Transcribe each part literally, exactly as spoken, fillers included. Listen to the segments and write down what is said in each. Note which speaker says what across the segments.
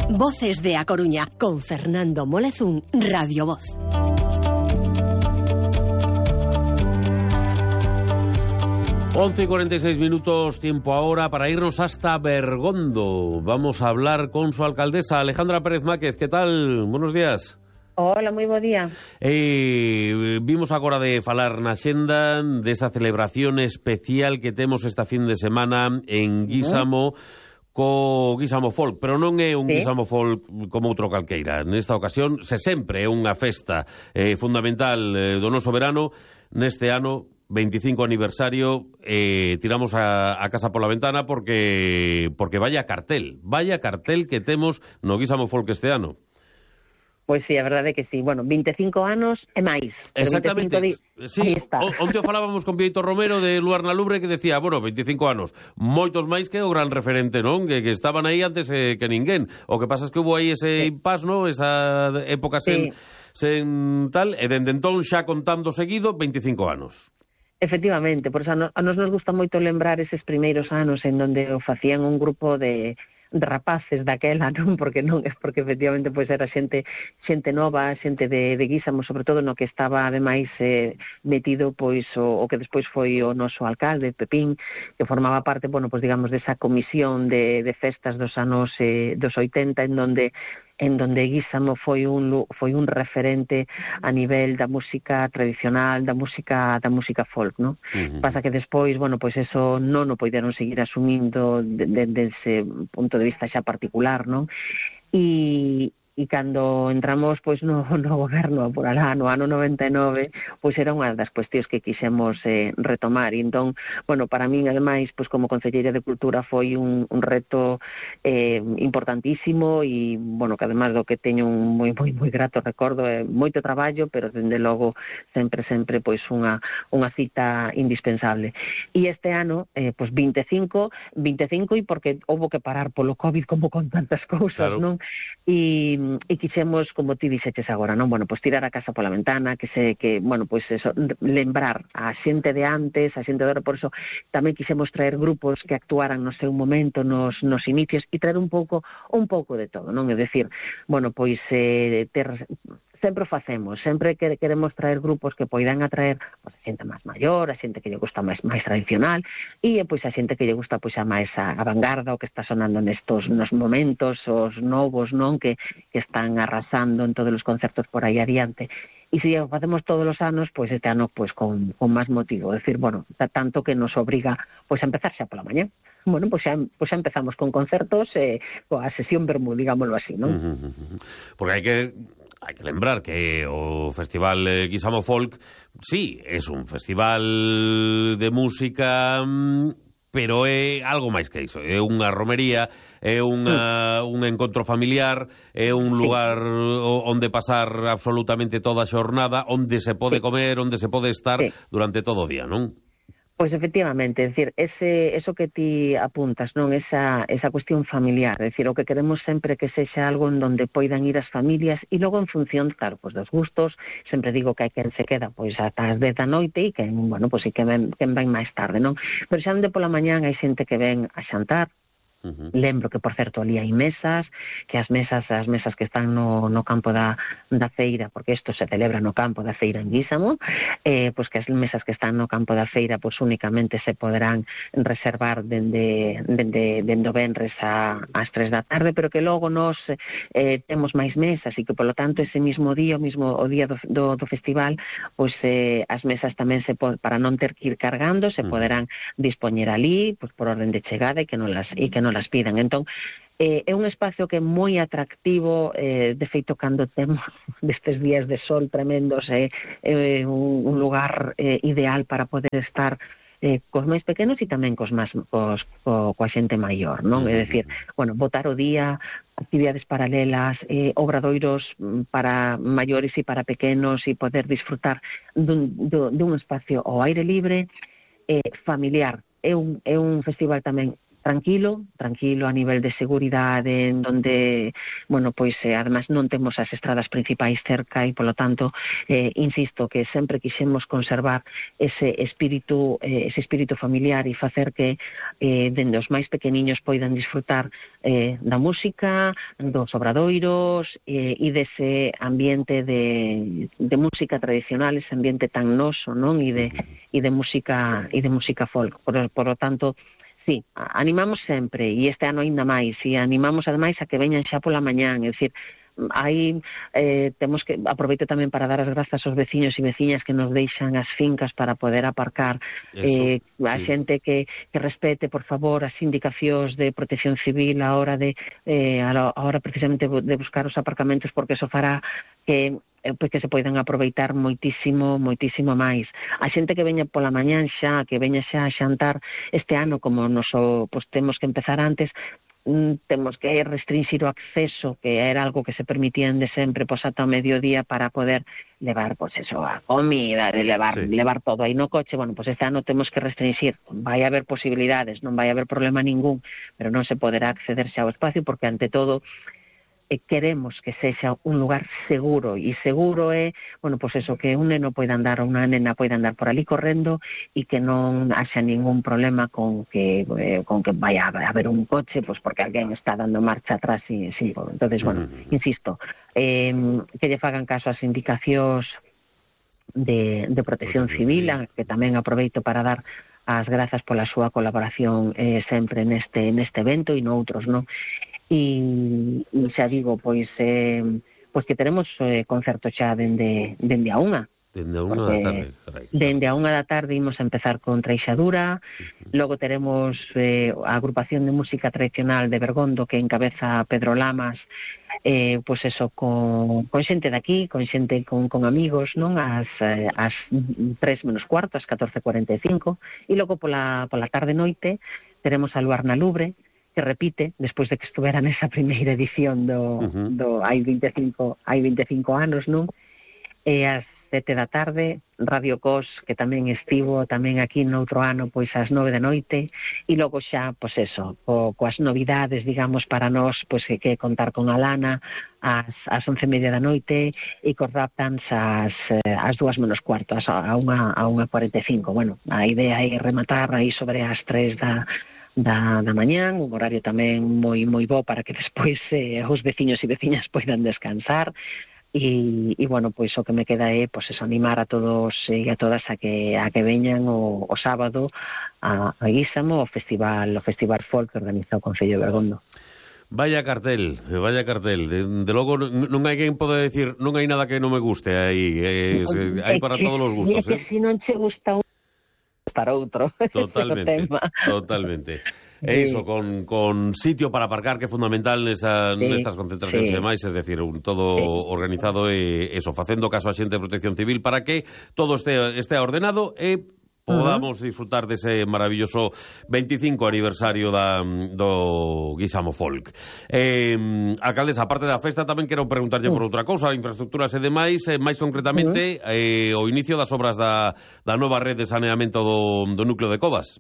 Speaker 1: Voces de A Coruña, con Fernando Molezún, Radio Voz.
Speaker 2: once y cuarenta y seis minutos, tiempo ahora para irnos hasta Bergondo. Vamos a hablar con su alcaldesa, Alejandra Pérez Máquez. ¿Qué tal? Buenos días.
Speaker 3: Hola, moi bo día.
Speaker 2: Eh, vimos agora de falar na xenda desa celebración especial que temos esta fin de semana en Guísamo, uh-huh. co Guísamo Folk, pero non é un ¿Sí? Guísamo Folk como outro calqueira. Nesta ocasión, se sempre é unha festa eh, fundamental eh, do noso verano. Neste ano, veinticinco aniversario, eh, tiramos a, a casa pola ventana porque porque vaya cartel, vaya cartel que temos no Guísamo Folk este ano.
Speaker 3: Pois sí, a verdade é que sí. Bueno, veinticinco anos e máis.
Speaker 2: Exactamente.
Speaker 3: Di...
Speaker 2: Sí, onte o falábamos con Vieito Romero de Luar na Lubre que decía, bueno, veinticinco anos, moitos máis que o gran referente, non? Que, que estaban aí antes eh, que ninguén. O que pasa é que hubo aí ese sí. impas, ¿no? Esa época sen, sí. sen tal, e dende entón xa contando seguido veinticinco anos.
Speaker 3: Efectivamente, por eso a nos, a nos nos gusta moito lembrar eses primeiros anos en donde o facían un grupo de... de rapaces daquela, non? Porque non é porque efectivamente pois era xente xente nova, xente de, de Guísamo, sobre todo no que estaba ademais eh, metido pois o, o que despois foi o noso alcalde, Pepín, que formaba parte, bueno, pois digamos desa comisión de, de festas dos anos eh, dos oitenta en donde en donde Guísamo foi un foi un referente a nivel da música tradicional, da música da música folk, ¿no? Uh-huh. Pasa que despois, bueno, pois eso non o poideron seguir asumindo desde de, de ese punto de vista xa particular, ¿no? E E cando entramos pois no, no goberno por alá no ano noventa e nove, pois era unha das cuestións que quixemos eh, retomar. E entón, bueno, para min, ademais, pois como concelleira de Cultura foi un, un reto eh, importantísimo e, bueno, que ademais do que teño un moi, moi, moi grato recordo, é eh, moito traballo, pero, dende logo, sempre, sempre, pois unha, unha cita indispensable. E este ano, eh, pois veinticinco, veinticinco e porque houbo que parar polo COVID como con tantas cousas, claro. Non? E e quixemos, como ti dixeches agora, non? Bueno, pois tirar a casa pola ventana, que se que, bueno, pois eso, lembrar a xente de antes, a xente de agora, por eso tamén quixemos traer grupos que actuaran no seu momento, nos nos inicios e traer un pouco un pouco de todo, non? É dicir, bueno, pois eh, ter sempre o facemos, sempre que queremos traer grupos que poidan atraer pois, a xente máis maior, a xente que lle gusta máis máis tradicional e pois a xente que lle gusta pois a máis a, a vanguarda, o que está sonando nestos nos momentos, os novos, non, que, que están arrasando en todos os concertos por aí adiante. E se o facemos todos os anos, pois este ano pois con, con máis motivo, é dicir, bueno, tanto que nos obriga pois a empezar xa pola mañá. Bueno, pois xa, pois xa empezamos con concertos e eh, coa sesión vermú, digámoslo así, non?
Speaker 2: Uh, uh, uh. Porque hai que hai que lembrar que o Festival eh, Guísamo Folk, sí, é un festival de música, pero é algo máis que iso, é unha romería, é unha, un encontro familiar, é un lugar sí. onde pasar absolutamente toda a xornada, onde se pode sí. comer, onde se pode estar sí. durante todo o día, non?
Speaker 3: Pois efectivamente, é dicir, ese, eso que ti apuntas, non, esa, esa cuestión familiar, é dicir, o que queremos sempre que sexa algo en donde poidan ir as familias e logo en función, claro, pois dos gustos, sempre digo que hai quen se queda pois ata as dez da noite e quen, bueno, pois e que ven, quen ven máis tarde, non? Pero xa onde pola mañán hai xente que ven a xantar. Uh-huh. Lembro que, por certo, ali hai mesas, que as mesas as mesas que están no, no campo da, da feira, porque isto se celebra no campo da feira en Guísamo, eh, pois que as mesas que están no campo da feira pois únicamente se poderán reservar dende, dende, dende o venres a, ás tres da tarde, pero que logo nos eh, temos máis mesas e que, polo tanto, ese mismo día, o mismo o día do, do, do festival, pois eh, as mesas tamén se pod, para non ter que ir cargando, se uh-huh. poderán dispoñer ali, pois por orden de chegada e que non las, e que non las pidan. Entón, eh, é un espacio que é moi atractivo, eh, de feito, cando temos destes días de sol tremendos, é eh, eh, un, un lugar eh, ideal para poder estar eh, cos máis pequenos e tamén cos máis, cos, co, coa xente maior, non? É dicir, bueno, botar o día, actividades paralelas, eh, obradoiros para maiores e para pequenos e poder disfrutar dun, dun, dun espacio ao aire libre, eh, familiar. É un, é un festival tamén tranquilo, tranquilo a nivel de seguridade, en donde, bueno, pois eh, además non temos as estradas principais cerca e, polo tanto, eh, insisto que sempre quixemos conservar ese espírito, eh, ese espírito familiar e facer que eh, dende os máis pequeniños poidan disfrutar eh, da música, dos obradoiros eh, e dese ambiente de, de música tradicional, ese ambiente tan noso, non? E de, e de música e de música folk. Por, por lo tanto, sí, animamos sempre, e este ano aínda máis, e animamos ademais a que veñan xa pola mañán, é dicir, aí eh, temos que, aproveito tamén para dar as grazas aos veciños e veciñas que nos deixan as fincas para poder aparcar, eh, a sí. xente que, que respete, por favor, as indicacións de protección civil a hora de, eh, a hora precisamente de buscar os aparcamentos, porque eso fará que pois que se poidan aproveitar moitísimo, moitísimo máis. A xente que veña pola mañán xa, que veña xa a xantar este ano, como nos o, pois, temos que empezar antes, temos que restringir o acceso, que era algo que se permitían de sempre, pois ata o mediodía, para poder levar, pois eso, a comida, levar, sí. levar todo aí no coche. Bueno, pois este ano temos que restringir. Vai haber posibilidades, non vai haber problema ningún, pero non se poderá acceder xa ao espacio, porque ante todo queremos que sexa un lugar seguro, e seguro é, bueno, pois eso, que un neno poida andar ou unha nena poida andar por ali correndo e que non haxa ningún problema con que eh, con que vaya a haber un coche, pois porque alguén está dando marcha atrás e sí, entonces, bueno, insisto, eh, que lle fagan caso ás indicacións de, de protección civil, que tamén aproveito para dar as grazas pola súa colaboración eh, sempre neste neste evento e noutros, non? E, e xa digo, pois eh, pois que teremos eh, concerto xa dende, dende a unha.
Speaker 2: Dende a unha da tarde. Carai.
Speaker 3: Dende a unha da tarde imos a empezar con Treixadura, uh-huh. Logo teremos eh, a agrupación de música tradicional de Bergondo, que encabeza Pedro Lamas, eh, pois eso, con, con xente daqui, con xente con, con amigos, non? As, eh, as tres menos cuarto, as catorce cuarenta e cinco, e logo pola, pola tarde noite teremos a Luar na Lubre, que repite, despois de que estuvera nesa primeira edición do, uh-huh. do hai veinticinco, hai veinticinco anos, non? E as sete da tarde, Radio Cos, que tamén estivo tamén aquí noutro ano, pois ás nove da noite, e logo xa, pois eso, co, coas novidades, digamos, para nós, pois que que contar con Alana ás, ás once e media da noite, e cos Raptans ás, ás dúas menos cuarto, ás, a unha, a unha cuarenta e cinco. Bueno, a idea é rematar aí sobre as tres da Da, da mañán, un horario tamén moi moi bo para que despois eh, os veciños e veciñas poidan descansar e, e bueno, pois o que me queda é pois eso, animar a todos e a todas a que a que veñan o, o sábado a, a Guísamo, o festival o festival folk que organiza o Concello de Bergondo.
Speaker 2: Vaya cartel, vaya cartel. De, de logo non hai quen pode decir non hai nada que non me guste aí, eh, eh, hai para todos os gustos,
Speaker 3: eh. É que se non che gusta un para outro.
Speaker 2: Totalmente, totalmente. E iso, con, con sitio para aparcar, que é fundamental nesa, sí, nestas concentracións sí. e demais, es decir, un todo sí. organizado e eso, facendo caso a xente de protección civil para que todo este, este ordenado e podamos uh-huh. disfrutar dese maravilloso veinticinco aniversario da, do Guisamo Folk. Eh, alcaldesa, aparte da festa, tamén quero preguntarlle uh-huh. por outra cousa, infraestructuras e demais, eh, máis concretamente, uh-huh. eh, o inicio das obras da, da nova rede de saneamento do, do núcleo de Covas.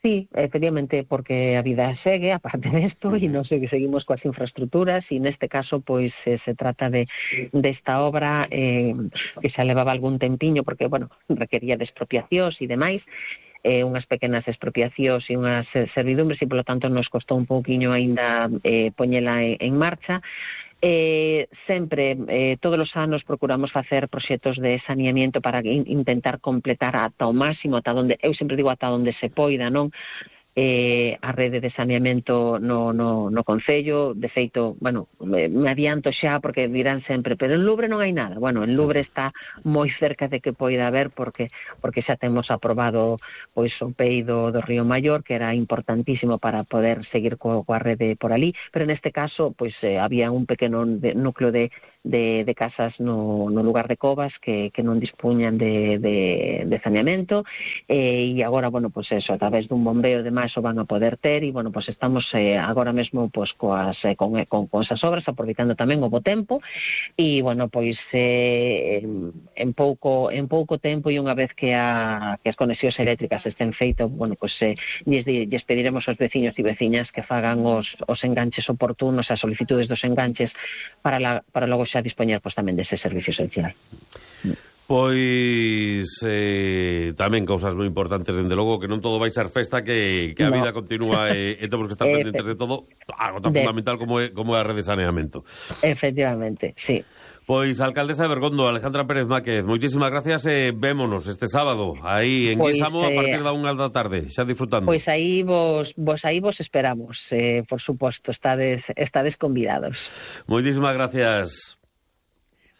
Speaker 3: Sí, efectivamente, porque a vida segue, aparte desto, e non sei que seguimos coas infraestructuras, e neste caso, pois, eh, se trata de desta obra eh, que xa levaba algún tempiño, porque, bueno, requería de expropiacións e demais, eh, unhas pequenas expropiacións e unhas servidumbres, e, polo tanto, nos costou un pouquiño aínda eh, poñela en, en marcha. Eh, sempre, eh, todos os anos procuramos facer proxectos de saneamiento para in, intentar completar ata o máximo, ata onde, eu sempre digo ata onde se poida, non? Eh, a rede de saneamento no, no, no Concello. De feito, bueno, me, me adianto xa porque dirán sempre, pero en Lubre non hai nada. Bueno, en Lubre está moi cerca de que poida haber porque porque xa temos aprobado pois o P E I do, do Río Maior, que era importantísimo para poder seguir co, coa rede por ali, pero neste caso pois eh, había un pequeno de, núcleo de de, de casas no, no lugar de Covas que, que non dispuñan de, de, de saneamento, eh, e agora, bueno, pues eso, a través dun bombeo de máis o van a poder ter, e, bueno, pues estamos eh, agora mesmo pues, coas, eh, con, con, con esas obras, aproveitando tamén o bo tempo, e, bueno, pois eh, en, en pouco en pouco tempo e unha vez que, a, que as conexións eléctricas estén feitas, bueno, pues eh, lles, lles pediremos aos veciños e veciñas que fagan os, os enganches oportunos, as solicitudes dos enganches para, la, para logo xa dispoñer pues, tamén dese servicio esencial.
Speaker 2: Pois eh, tamén cousas moi importantes, dende logo, que non todo vai ser festa, que, que a no. vida continúa e, e temos que estar pendentes de todo, algo tan de... fundamental como é, como é a rede de saneamento.
Speaker 3: Efectivamente, sí.
Speaker 2: Pois, alcaldesa de Bergondo, Alejandra Pérez Máquez, moitísimas gracias e vémonos este sábado aí en
Speaker 3: pois,
Speaker 2: Guisamo
Speaker 3: eh,
Speaker 2: a partir da unha da tarde, xa disfrutando.
Speaker 3: Pois aí vos, vos aí vos esperamos, eh, por suposto, estades, estades convidados.
Speaker 2: Moitísimas gracias.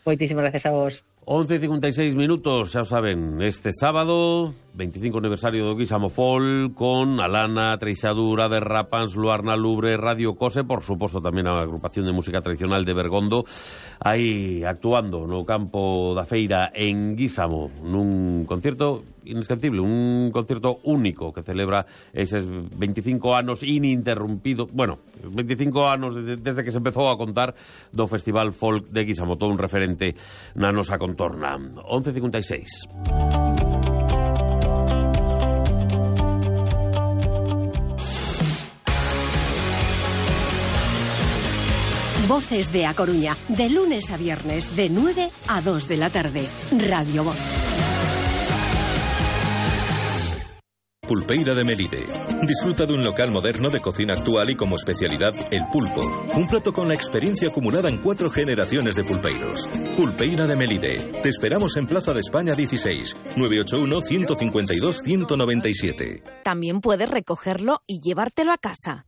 Speaker 3: Moitísimas gracias a vos.
Speaker 2: once e cincuenta e seis minutos, xa o saben, este sábado, veinticinco aniversario do Guisamo Folk, con Alana, Treixadura, Derrapans, Luarna Lubre, Radio Cose, por suposto tamén a agrupación de música tradicional de Bergondo, aí actuando no campo da feira en Guisamo, nun concierto inesquecible, un concierto único que celebra eses veinticinco anos ininterrumpido, bueno, veinticinco anos desde, desde que se empezou a contar do Festival Folk de Guisamo, todo un referente na nosa contorna. once e cincuenta e seis.
Speaker 1: Voces de A Coruña, de lunes a viernes, de nueve a dos de la tarde. Radio Voz.
Speaker 4: Pulpeira de Melide. Disfruta de un local moderno de cocina actual y como especialidad el pulpo. Un plato con la experiencia acumulada en cuatro generaciones de pulpeiros. Pulpeira de Melide. Te esperamos en Plaza de España dieciséis, nueve ocho uno, uno cinco dos, uno nueve siete.
Speaker 5: También puedes recogerlo y llevártelo a casa.